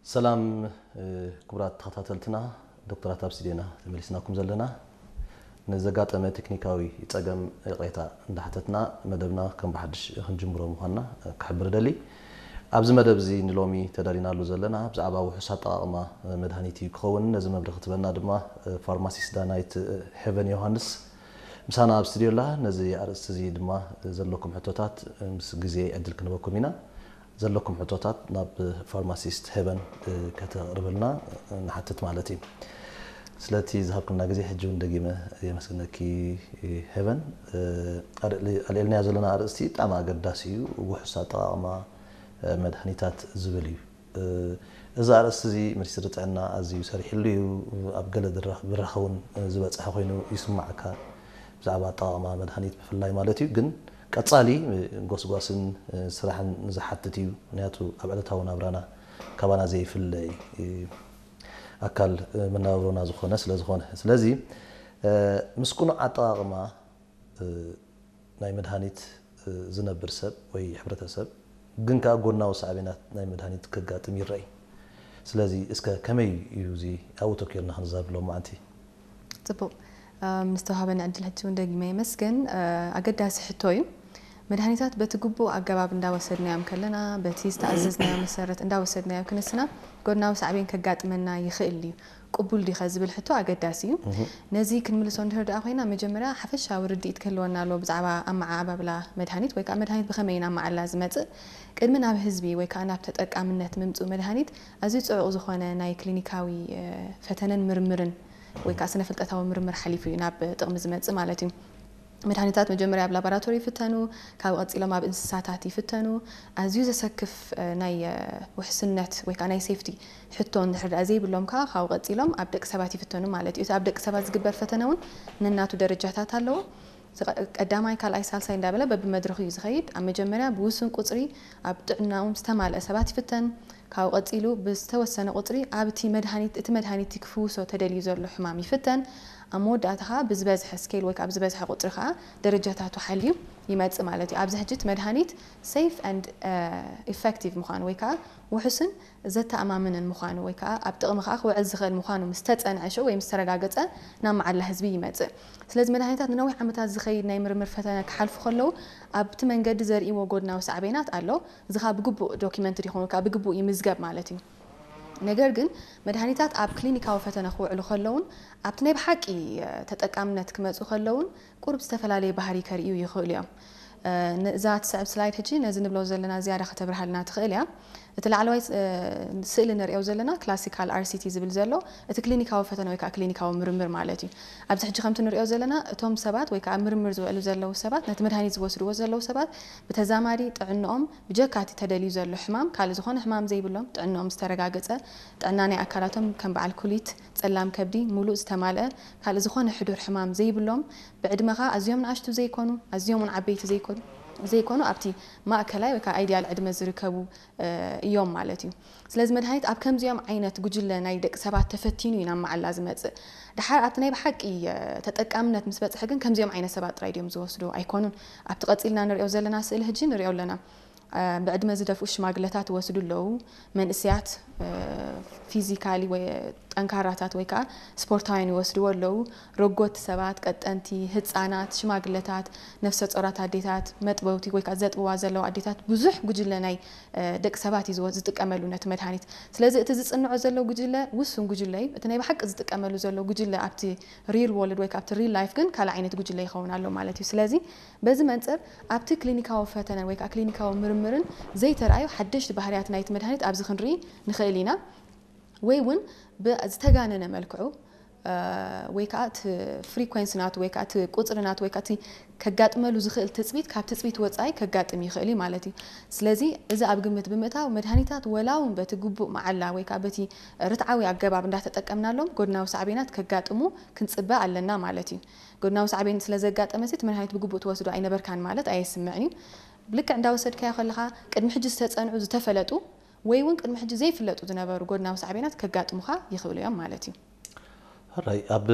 ሰላም ክቡራት ተኸታተልትና፣ ዶክተራት ኣብ ስቱድዮና ተመሊስናኩም ዘለና። ንዘጋጠመ ቴክኒካዊ ጸገም ይቕሬታ እንዳሓተትና፣ መደብና ከም ብሓድሽ ክንጅምሮ ምዃንና ክሕብር እደሊ። ኣብዚ መደብ እዚ ንሎሚ ተዳሊናሉ ዘለና ብዛዕባ ውሑስ ኣጠቓቕማ መድሃኒት እዩ ክኸውን። ነዚ መብርሂ ክትበና ድማ ፋርማሲስት ዳናይት ሄቨን ዮሃንስ ምሳና ኣብ ስቱድዮ ኣላ። ነዚ ኣርእስቲ እዚ ድማ ዘለኩም ሕቶታት ምስ ግዜ ዕድል ክንበኩም ኢና። ዘለኩም ሕቶታት ናብ ፋርማሲስት ሄቨን ከተቕርብልና ንሓትት ማለት እዩ። ስለቲ ዝሃብክና ግዜ ሕጂ እውን ደጊመ የመስግነኪ ሄቨን። ኣልዕልናዮ ዘለና ኣርእስቲ ብጣዕሚ ኣገዳሲ እዩ፣ ውሑስ ኣጠቓቕማ መድሃኒታት ዝብል እዩ። እዚ ኣርእስቲ እዚ ሚኒስትሪ ጥዕና ኣዝዩ ሰሪሕሉ እዩ። ኣብ ገለ ብራኸ እውን ዝበፅሐ ኮይኑ ይስማዓካ፣ ብዛዕባ ኣጠቓቕማ መድሃኒት ብፍላይ ማለት እዩ። ግን ቀፃሊ ጎስጓስን ስራሕን ዝሓትት እዩ፣ ምክንያቱ ኣብ ዕለታዊ ናብራና ካባና ዘይፍለ ኣካል መነባብሮና ዝኾነ ስለ ዝኾነ። ስለዚ ምስ ቅኑዕ ኣጠቓቕማ ናይ መድሃኒት ዝነብር ሰብ ወይ ሕብረተሰብ ግን ከኣ ጎናዊ ሳዕቤናት ናይ መድሃኒት ከጋጥም ይረኣይ። ስለዚ እስከ ከመይ እዩ እዚ ኣብኡ ተኪርና ክንዛረብ ሎማዓንቲ? ጽቡቕ። ምስ ተዋሃበኒ ዕድል ሕጂ እውን ደጊመ የመስግን። ኣገዳሲ ሕቶ እዩ። መድሃኒታት በቲ ግቡእ ኣገባብ እንዳወሰድናዮም ከለና፣ በቲ ዝተኣዘዝናዮ መሰረት እንዳወሰድናዮ ክንስና፣ ጎድናዊ ሳዕቤን ከጋጥመና ይኽእል እዩ። ቅቡል ዲኸ ዝብል ሕቶ ኣገዳሲ እዩ። ነዚ ክንምልሶ እንድሕር ደኣ ኮይና፣ መጀመርያ ሓፈሻዊ ርድኢት ክህልወና ኣለዎ ብዛዕባ ኣመዓባብላ መድሃኒት ወይ ከዓ መድሃኒት ብኸመይ ኢና ኣመዓላ ዝመጽእ። ቅድሚ ናብ ህዝቢ ወይ ከዓ ናብ ተጠቃምነት ምምጽኡ መድሃኒት ኣዝዩ ጽዑቕ ዝኾነ ናይ ክሊኒካዊ ፈተነን ምርምርን ወይ ከዓ ስነ ፍልጠታዊ ምርምር ሓሊፉ እዩ ናብ ጥቕሚ ዝመጽእ ማለት እዩ። መድሃኒታት መጀመርያ ኣብ ላቦራቶሪ ይፍተኑ፣ ካብ ቀጺሎም ኣብ እንስሳታት ይፍተኑ። ኣዝዩ ዘሰክፍ ናይ ውሕስነት ወይ ከዓ ናይ ሴፍቲ ሕቶ እንድሕር ደኣ ዘይብሎም ከዓ ካብኡ ቀጺሎም ኣብ ደቂ ሰባት ይፍተኑ ማለት እዩ። እቲ ኣብ ደቂ ሰባት ዝግበር ፈተነ እውን ነናቱ ደረጃታት ኣለዎ። ቀዳማይ፣ ካልኣይ፣ ሳልሳይ እንዳበለ በብመድረኹ እዩ ዝኸይድ። ኣብ መጀመርያ ብውሱን ቁጽሪ ኣብ ጥዕናኦም ዝተማልአ ሰባት ይፍተን። ካብኡ ቀጺሉ ብዝተወሰነ ቁጽሪ ኣብቲ መድሃኒት እቲ መድሃኒት ክፍውሶ ተደልዩ ዘሎ ሕማም ይፍተን። ኣብ መወዳእታ ከዓ ብዝበዝሐ ስኬል ወይ ከዓ ብዝበዝሐ ቁጽሪ ከዓ ደረጃታቱ ሓልዩ ይመጽእ ማለት እዩ። ኣብዚ ሕጂ እቲ መድሃኒት safe and effective ምዃኑ ወይ ከዓ ውሑስን ዘተኣማምንን ምዃኑ ወይ ከዓ ኣብ ጥቕሚ ከዓ ክውዕል ዝኽእል ምዃኑ ምስ ተጸንዐ ሽዑ ወይ ምስ ተረጋገጸ ናብ መዓላ ህዝቢ ይመጽእ። ስለዚ መድሃኒታት ንነዊሕ ዓመታት ዝኸይድ ናይ ምርምር ፈተነ ክሓልፉ ከለዉ ኣብቲ መንገዲ ዘርእይዎ ጎድናዊ ሳዕቤናት ኣሎ። እዚ ከዓ ብግቡእ ዶኪመንትድ ይኸውን ወይ ከዓ ብግቡእ ይምዝገብ ማለት እዩ። ነገር ግን መድሃኒታት ኣብ ክሊኒካዊ ፈተነ ክውዕሉ ከለውን ኣብቲ ናይ ብሓቂ ተጠቃምነት ክመፁ ከለውን ቁሩብ ዝተፈላለየ ባህሪ ከርእዩ ይኽእሉ እዮም። እዛ ትስዕብ ስላይድ ሕጂ ነዚ ንብሎ ዘለና ዝያዳ ከተብርሃልና ትኽእል እያ። እቲ ላዕለዋይ ስእሊ ንሪኦ ዘለና ክላሲካል ኣርሲቲ ዝብል ዘሎ እቲ ክሊኒካዊ ፈተነ ወይ ከዓ ክሊኒካዊ ምርምር ማለት እዩ። ኣብዚ ሕጂ ከምቲ ንሪኦ ዘለና እቶም ሰባት ወይ ከዓ ምርምር ዝውዕሉ ዘለዉ ሰባት ነቲ መድሃኒት ዝወስድዎ ዘለዉ ሰባት ብተዛማዲ ጥዕንኦም ብጀካ እቲ ተደልዩ ዘሎ ሕማም ካልእ ዝኾነ ሕማም ዘይብሎም ጥዕንኦም ዝተረጋገፀ ጥዕና ናይ ኣካላቶም ከም በዓል ኩሊት፣ ጸላም ከብዲ፣ ሙሉእ ዝተማልአ ካልእ ዝኾነ ሕዱር ሕማም ዘይብሎም ብዕድመ ከዓ ኣዝዮም ንኣሽቱ ዘይኮኑ ኣዝዮም እውን ዓበይቲ ዘይኮኑ ዘይኮኑ ኣብቲ ማእከላይ ወይ ከዓ ኣይድያል ዕድመ ዝርከቡ እዮም ማለት እዩ። ስለዚ መድሃኒት ኣብ ከምዚኦም ዓይነት ጉጅለ ናይ ደቂ ሰባት ተፈቲኑ እዩ ናብ መዓላ ዝመጽእ። ድሓር ኣብቲ ናይ ብሓቂ ተጠቃምነት ምስ በጽሐ ግን ከምዚኦም ዓይነት ሰባት ጥራይ ድዮም ዝወስዱ ኣይኮኑን። ኣብቲ ቀጺልና ንሪኦ ዘለና ስእሊ ሕጂ ንሪኦ ኣለና። ብዕድመ ዝደፍኡ ሽማግለታት ይወስዱ ኣለዉ። መንእስያት ፊዚካሊ ወይ ጠንካራታት ወይ ከዓ ስፖርታውያን ይወስድዎ ኣለዉ። ረጎት ሰባት፣ ቀጠንቲ፣ ህፃናት፣ ሽማግለታት፣ ነፍሰ ጾራት ኣዴታት፣ መጥበውቲ ወይ ከዓ ዘጥብዋ ዘለዋ ኣዴታት ብዙሕ ጉጅለ ናይ ደቂ ሰባት እዩ ዝጥቀመሉ ነቲ መድሃኒት። ስለዚ እቲ ዝፅንዖ ዘሎ ጉጅለ ውሱን ጉጅለ እዩ። እቲ ናይ ብሓቂ ዝጥቀመሉ ዘሎ ጉጅለ ኣብቲ ሪል ወርልድ ወይ ከዓ ኣብቲ ሪል ላይፍ ግን ካልእ ዓይነት ጉጅለ ይኸውን ኣሎ ማለት እዩ። ስለዚ በዚ መንፅር ኣብቲ ክሊኒካዊ ፈተነን ወይ ከዓ ክሊኒካዊ ምርምርን ዘይተረኣዩ ሓደሽቲ ባህርያት ናይቲ መድሃኒት ኣብዚ ክንርኢ ንኽእል ኢና። ወይ እውን ብዝተጋነነ መልክዑ ወይ ከዓ እቲ ፍሪኮንሲ ናቱ ወይ ከዓ እቲ ቁፅሪ ናቱ ወይ ከዓ እቲ ከጋጥመሉ ዝኽእል ትፅቢት ካብ ትፅቢት ወፃኢ ከጋጥም ይኽእል እዩ ማለት እዩ። ስለዚ እዚ ኣብ ግምት ብምእታው መድሃኒታት ወላ እውን በቲ ግቡእ መዓላ ወይ ከዓ በቲ ርትዓዊ ኣገባብ እንዳተጠቀምናሎም ጎድናዊ ሳዕቤናት ከጋጥሙ ክንፅበ ኣለና ማለት እዩ። ጎድናዊ ሳዕቤን ስለ ዘጋጠመ እቲ መድሃኒት ብግቡእ ትወስዶ ኣይነበርካን ማለት ኣየስምዕን እዩ። ልክዕ እንዳወሰድካዮ ከለኻ ቅድሚ ሕጂ ዝተፀንዑ ዝተፈለጡ ወይ እውን ቅድሚ ሕጂ ዘይፍለጡ ዝነበሩ ጎድናዊ ሳዕቤናት ከጋጥሙኻ ይኽእሉ እዮም ማለት እዩ። ሕራይ ኣብ